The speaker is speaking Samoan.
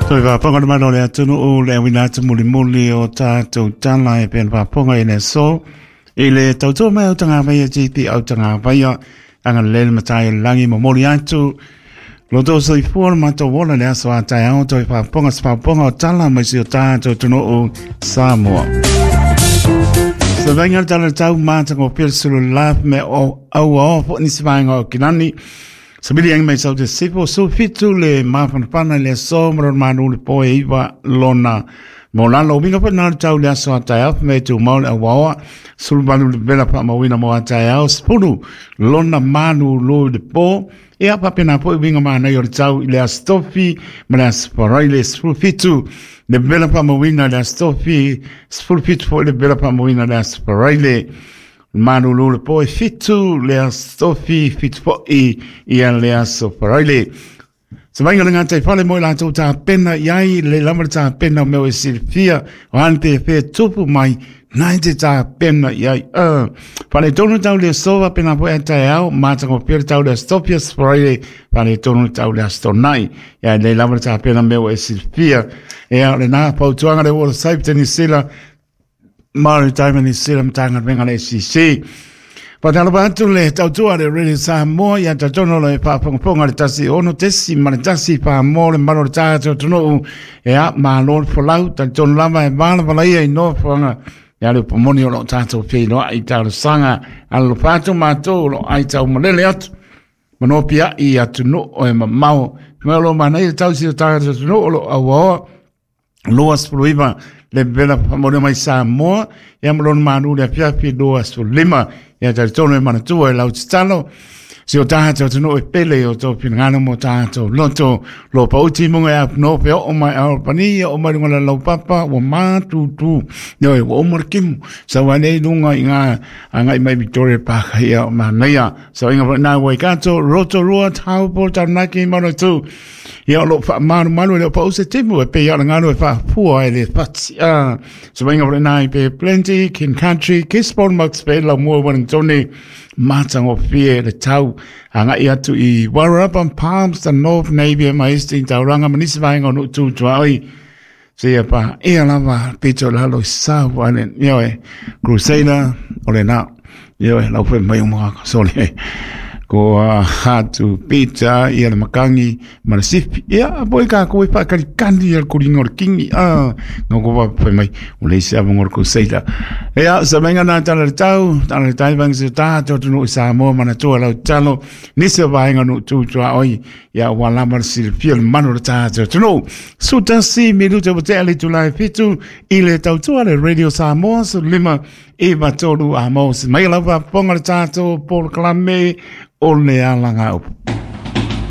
Toe faafofoga le mamalu o le atunuu le auina atu mulimuli o tatou tala e pei ona faafofoga i le aso i le tautua mai au tagavaia GP au tagavaia agalelei le matai o le lagi momoli atu lo tou soifua le matou ola le aso a taeao toe faafofoga se faafofoga o tala mai si o tatou atunuu Samoa. Se vainga le tala tau matagofie le sulu laf me o aua o fo nisi vaenga o Kilani. Sabili angi mai sau te sipo su fitu le mafanafana i le aso ma lona manu le po e iwa lona mo lalo. Winga po nā tau le aso a taeao me tu mau le awaoa sulu malu le vela pa mawina mo a taeao spulu lona manu lo le po e apa pena po winga mana i o le tau i le astofi ma le asfarai le sulu fitu le vela pa mawina le astofi sulu fitu po le vela pa mawina le asfarai le Malulu le po e fitu le aso tofi fitu fo'i ia le aso Faraile. Se vainga le ngātai whale mo i lātou tā pena i ai le lama le tā pena o meo e silfia o hane te whea tupu mai nai te tā pena i ai. Whale tonu tau le sova pena po e tae au mātanga o pia le tau le astopia Faraile whale tonu tau le astonai. Ia le lama le tā pena meo e silfia. Ea le nā pautuanga le ua saip te nisila Maritime New Zealand Matagaluega le SEC. Whakalofa atu le tautua le Radio Samoa ia tatono le whaafongafonga le tasi ono tesi ma le tasi whaamo le maro le tātou atunuu e a malo le folau tatono lava e valavala ia i nofoanga ia le upomoni o lo tātou wheiloa i talosaga alofa atu mātou o lo ai tau malele atu manopia i atunuu e mamao mai o lo manaia tausi o tātou atunuu o lo auaoa 29 le vela whamore mai Samoa, ia ma lona manu le afiafi 25, ia talitonu e manatua e lau tatalo, si o tātou atunuu e pele o tō finagalo mo tātou loto, lo pauti munga e apu no pe o mai ao pani, o mai lunga la lau papa, ua mātūtū, ioe, ua uma le kimu, sau ai lunga i ngā angai mai Victoria Park, ia o manaia, sau inga whanau Waikato, Rotorua, Taupo, Taranaki, Manatū, Ia o lo whaamarumaru e leo pau se timu e pei ala ngalo e whaapua e le whati. A, so wainga wale nai pe Plenty, King Country, Gisborne, Max Bay, lau mua Wellingtone, mātango fie le tau. A ngai atu i Warrarapa, Palms, the North Navy, ma Hastings, Tauranga, manisi vaenga o nuu tūtua oi. Se ia pa ia lava pito lalo i South Island, ia e, Crusader, o le nā. Ia e, lau whai mai o mga sole. Ko a hatu pita ia le makangi ma le sifi. Ia, po i ka koe whakari kani ia le koringa o le kingi. Ah, ngā ko whai mai, o le isi avonga o le Crusader. Ia, sa mainga nā tala le tau, tala le tai vangi se tā, tō tunu i Samoa mana toa lau talo, nisi o vaenga nu tūtua oi, ia ua lava le silafia le manu o le tātou atunuu. Sutasi minute ua tea le itula e fitu i le tautua le Radio Samoa su lima iwa tolu a mo se mai lau faafofoga le tātou polokalame o le alagaupu.